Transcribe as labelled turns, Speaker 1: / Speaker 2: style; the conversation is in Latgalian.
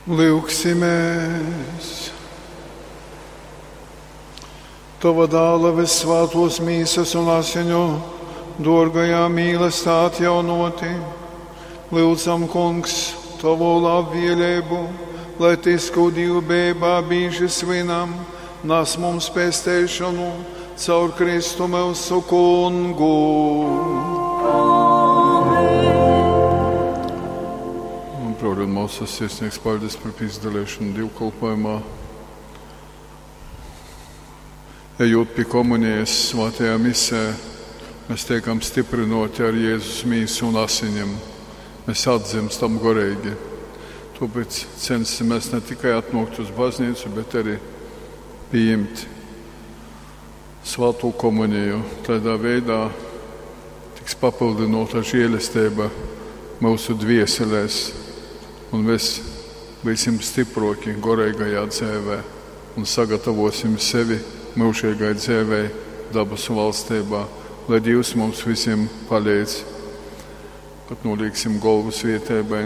Speaker 1: Lyugsimēs! Tova dāla vissvātos mīsas un asiņu dōrgajā mīlestā atjaunoti, lyudzam, Kungs, Tovu labvēlību, lai tys, kū dīvbejībā bīži svinam, nes mums pesteišanu caur Kristu myusu Kungu.
Speaker 2: Un, Brōļi un māsas, sirsnīgs paldies par pīzdalīšanu dievkalpojumā. Ejot pie komunijas svētajā misē, mēs tiekam stiprinoti ar Jēzus mīsu un asiņiem. Mēs atdzimstam goreigi. Tāpēc censimies ne tikai atnākt uz baznīcu, bet arī pieņemt svēto komuniju. Tādā veidā tiks papildinota žēlastība mūsu dvieselēs, un mēs būsim stiproki goreigajā dzīvē un sagatavosim sevi mūžīgai dzīvei dabasu valstībā, lai Dievs mums visiem palīdz, kad nolieksim galvu svietēbai.